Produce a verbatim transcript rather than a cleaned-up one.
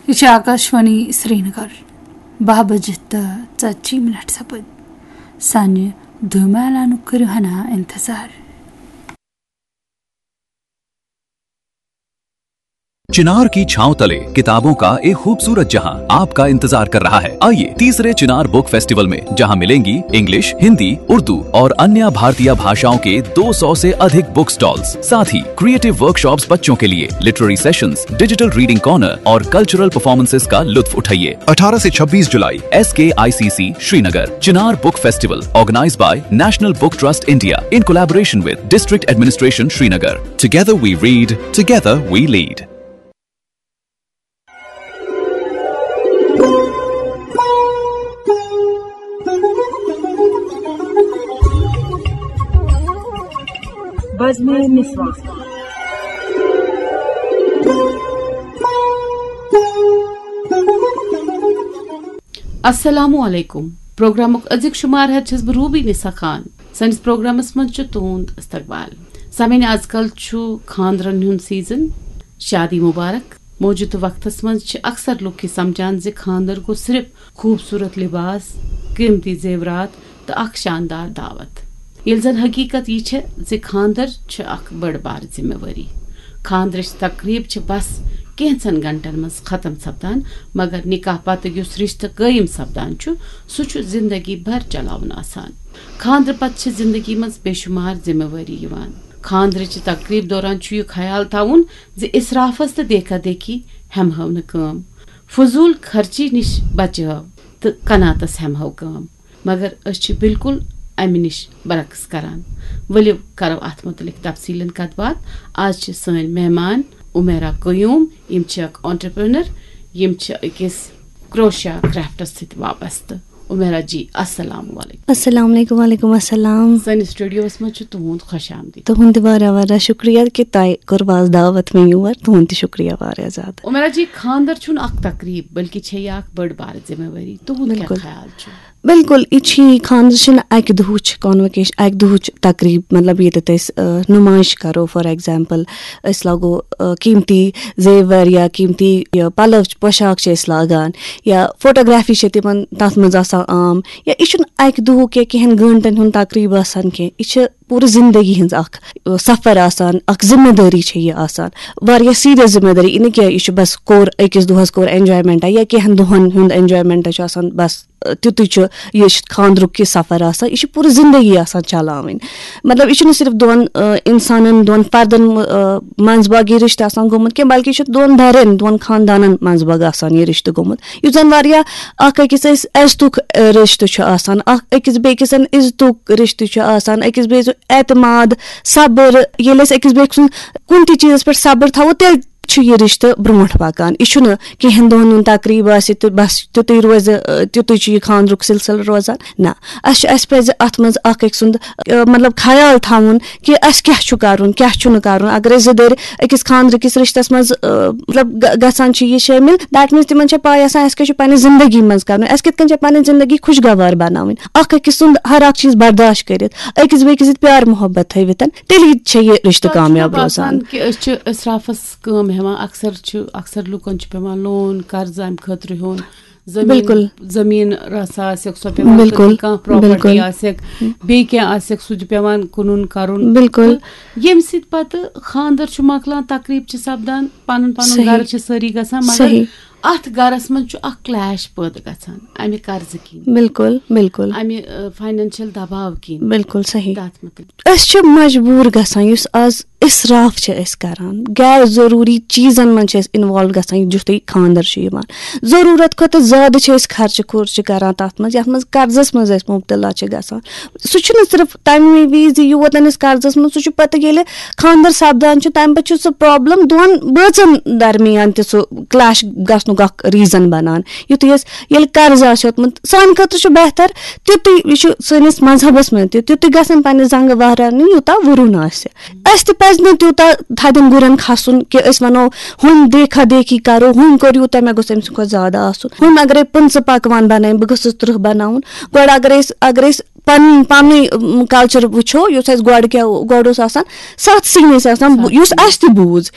یہِ چھِ آکاشوانی سرینگر۔ باہ بجہِ تہٕ ژتجی منٹ سپٕدۍ۔ سانہِ دُہمہِ اعلانُک کٔرِو ہنا انتظار۔ चिनार की छांव तले किताबों का एक खूबसूरत जहां आपका इंतजार कर रहा है। आइए, तीसरे चिनार बुक फेस्टिवल में, जहां मिलेंगी इंग्लिश, हिंदी, उर्दू और अन्य भारतीय भाषाओं के दो सौ से अधिक बुक स्टॉल्स, साथ ही क्रिएटिव वर्कशॉप्स बच्चों के लिए, literary sessions, digital reading corner और कल्चरल परफॉर्मेंसेस का लुत्फ उठाइए। अठारह से छब्बीस जुलाई, S K I C C Srinagar. Chinar book festival, organized by National Book Trust India in collaboration with District Administration Srinagar. Together we read, together we lead. بزمِ نسواں۔ السلام علیکم۔ پروگرامُک أزیُک شمار ہٮ۪تھ چھَس بہٕ روبی نسا خان۔ سٲنِس پروگرامس منٛز چھُ تُہُنٛد استقبال۔ سامعین، آز کل چھُ خانٛدرن ہُنٛد سیزن، شادی مبارک۔ موجودٕ وقتس منٛز چھِ اکثر لُکھ یہِ سمجھان زِ خانٛدر گوٚو صرف خوٗبصوٗرت لباس، قۭمتی زیورات تہٕ اکھ شاندار دعوت۔ ییٚلہِ زن حقیقت یہِ چھےٚ زِ خانٛدر چھِ اکھ بٔڑ بار ذمہٕ وٲری۔ خانٛدرٕچ تقریب چھِ بس کینٛژن گھنٹن منٛز ختم سپدان، مگر نکاح پتہٕ یُس رشتہٕ قٲیِم سپدان چھُ، سُہ چھُ زندگی بھر چلاوُن آسان۔ خانٛدرٕ پتہٕ چھِ زندگی منٛز بے شمار ذمہٕ وٲری یِوان۔ خانٛدرٕچہِ تقریب دوران چھُ یہِ خیال تھاوُن زِ اسرافس تہٕ دیکھا دیکھی ہٮ۪مہو نہٕ کٲم، فضول خرچی نِش بچہو تہٕ قناعتس ہٮ۪مہو کٲم۔ مگر أسۍ چھِ بالکل امہِ نِش برعکس کران۔ ؤلِو کرو اتھ متعلق تفصیلن کتھ باتھ۔ آز چھِ سٲنۍ مہمان عمیرا قیوم۔ یِم چھِ اکھ entrepreneur، یِم چھِ أکِس کروشیا کرافٹس سۭتۍ وابستہٕ۔ عمیرا جی، السلام علیکم۔ السلام علیکم۔ وعلیکم السلام۔ سٲنِس سٹوڈیوس منٛز چھُ تُہُنٛد خۄش آمدید۔ تُہُنٛد تہِ واریاہ واریاہ شُکریہ کہِ تۄہہِ کوٚروٕ آز دعوت مےٚ یور۔ تُہُنٛد تہِ شُکریہ واریاہ زیادٕ۔ عمیرا جی، خانٛدر چھُنہٕ اکھ تقریب، بلکہِ چھےٚ یہِ اکھ بٔڑ بار ذمہٕ وٲری۔ تُہُنٛد کیٛاہ بالکل۔ خیال چھُ؟ بالکل، یہِ چھِ یہِ خانٛدر چھِنہٕ اَکہِ دۄہٕچ convocation، اَکہِ دۄہٕچ تقریٖب، مطلب ییٚتٮ۪تھ أسۍ، آ، نُمٲیِش کَرو، for example، أسۍ لاگو، آ، قۭمتی زیور یا قۭمتی یہِ پَلو چھِ، پوشاک چھِ أسۍ لاگان، یا photography چھِ تِمَن تَتھ منٛز آسان عام، یا یہِ چھُنہٕ اَکہِ دۄہُک یا کینٛہَن گٲنٛٹَن ہُنٛد تقریٖب آسان کینٛہہ، یہِ چھِ پوٗرٕ زندگی ہٕنٛز اکھ، آ، سفر آسان، اکھ ذمہٕ دٲری چھےٚ یہِ آسان، واریاہ serious ذمہٕ دٲری۔ یہِ نہٕ کینٛہہ یہِ چھُ بس کوٚر أکِس دۄہس کوٚر enjoyment یا کینٛہن دۄہن ہُنٛد enjoyment چھُ آسان، بس، آ، تیُتُے چھُ، یہِ چھُ خانٛدرُک یہِ سفر آسان، یہِ چھُ پوٗرٕ زندگی آسان چلاوٕنۍ۔ مطلب، یہِ چھُنہٕ صرف دۄن، آ، انسانن، دۄن فردن، آ، منٛز باگ یہِ رشتہٕ آسان گوٚمُت کینٛہہ، بلکہِ یہِ چھُ دۄن دَرٮ۪ن، دۄن خاندانن منٛز باگ آسان یہِ رشتہٕ گوٚمُت۔ یُس زن واریاہ اکھ أکِس أسۍ عزتُک، آ، رشتہٕ چھُ آسان، اکھ أکِس بیٚیِس سۭتۍ عزتُک رشتہٕ چھُ آسان، أکِس بیٚیِس اعتماد، صبر۔ ییٚلہِ أسۍ أکِس بیٚیِس سُنٛد کُنہِ تہِ چیٖزس پٮ۪ٹھ صبر تھاوو، تیٚلہِ چھُ یہِ رشتہٕ برونٛٹھ پکان۔ یہِ چھُنہٕ کینٛہن دۄہن ہُنٛد تقریٖب آسہِ تہٕ بس تیُتُے روزِ، آ، تیُتُے چھُ یہِ خانٛدرُک سلسلہٕ روزان۔ نہ، اسہِ چھُ، اسہِ پزِ اتھ منٛز اکھ أکۍ سُنٛد، آ، مطلب، خیال تھاوُن کہِ اسہِ کیٛاہ چھُ کرُن، کیٛاہ چھُنہٕ کرُن۔ اگر أسۍ زٕ دٔرۍ أکِس خانٛدرٕ کِس رشتس منٛز، آ، مطلب، گ-، گژھان چھِ یہِ شٲمِل، that means تِمن چھےٚ پاے آسان اسہِ کیٛاہ چھُ پننہِ زندگی منٛز کرُن، اسہِ کِتھ کٔنۍ چھےٚ پنٕنۍ زندگی خوشگوار بناوٕنۍ۔ اکھ أکِس سُنٛد ہر اکھ چیٖز برداشت کٔرِتھ، أکِس بیٚیِس سۭتۍ پیار محبت تھٲوِتھ، تیٚلی چھےٚ یہِ رشتہٕ تۄہہِ چھُوا کامیاب باسان روزان۔ کہِ أسۍ چھِ اسرافس کٲم ہٮ۪وان؟ اکثر چھُ، اکثر لُکن چھُ پٮ۪وان لون، قرضہٕ امہِ خٲطرٕ ہیوٚن، زٔمیٖن، بالکل۔ زٔمیٖن رژھا آسٮ۪کھ سۄ پٮ۪وان بالکل، کٕنٕنۍ، کانٛہہ property بالکل۔ آسٮ۪کھ، بیٚیہِ کینٛہہ آسٮ۪کھ، سُہ تہِ پٮ۪وان کٕنُن کرُن۔ بالکل۔ تہٕ ییٚمہِ سۭتۍ پتہٕ خانٛدر چھُ مۄکلان، تقریٖب چھِ سپدان، پنُن پنُن صحیح۔ گرٕ چھِ سٲری گژھان، مگر صحیح۔ اتھ گرس منٛز چھُ اکھ clash پٲدٕ گژھان امہِ قرضہٕ کِنۍ، بالکل، بالکل۔ امہِ، آ، financial دباو کِنۍ۔ بالکل صحیح۔ تتھ متعلق۔ أسۍ چھِ مجبوٗر گژھان، یُس آز اسراف چھِ أسۍ کران، غیر ضروٗری چیٖزن منٛز چھِ أسۍ involve گژھان، یُتھُے خانٛدر چھُ یِوان۔ ضروٗرت کھۄتہٕ زیادٕ چھِ أسۍ خرچہٕ خُرچہٕ کران تتھ منٛز، یتھ منٛز قرضس منٛز أسۍ مبتلا چھِ گژھان۔ سُہ چھُنہٕ صرف تمہِ وِزِ یوت أمِس قرضس منٛز، سُہ چھُ پتہٕ ییٚلہِ خانٛدر سپدان چھُ، تمہِ پتہٕ چھُ سُہ problem دۄن بٲژن درمیان تہِ سُہ clash گژھنُک اکھ reason بنان۔ یُتھُے أسۍ، ییٚلہِ قرض آسہِ ہیوٚتمُت، سانہِ خٲطرٕ چھُ بہتر تیُتُے، یہِ چھُ سٲنِس مذہبس منٛز تہِ، تیُتُے گژھن پننہِ زنٛگہٕ وہراونہِ یوٗتاہ وُرُن آسہِ۔ اسہِ تہِ پزِ نہٕ تیوٗتاہ تھدٮ۪ن گُرٮ۪ن کھسُن کہِ أسۍ ونو، ہُم دیکھا دیکھی کرو، ہُم کوٚر یوٗتاہ، مےٚ گوٚژھ أمۍ سٕنٛدِ کھۄتہٕ زیادٕ آسُن۔ ہُم اگرے پٕنٛژٕ پکوان بنٲوِن، بہٕ گٔژھٕس ترٕٛہ بناوُن۔ گۄڈٕ اگرے أسۍ، اگرے أسۍ پنُن، پنُن، اُم، culture وٕچھو، یُس اسہِ گۄڈٕ کیٛاہ، گۄڈٕ اوس آسان، ستھ سِنۍ ٲسۍ آسان، ستھ یُس سِنۍ۔ اسہِ تہِ بوٗز۔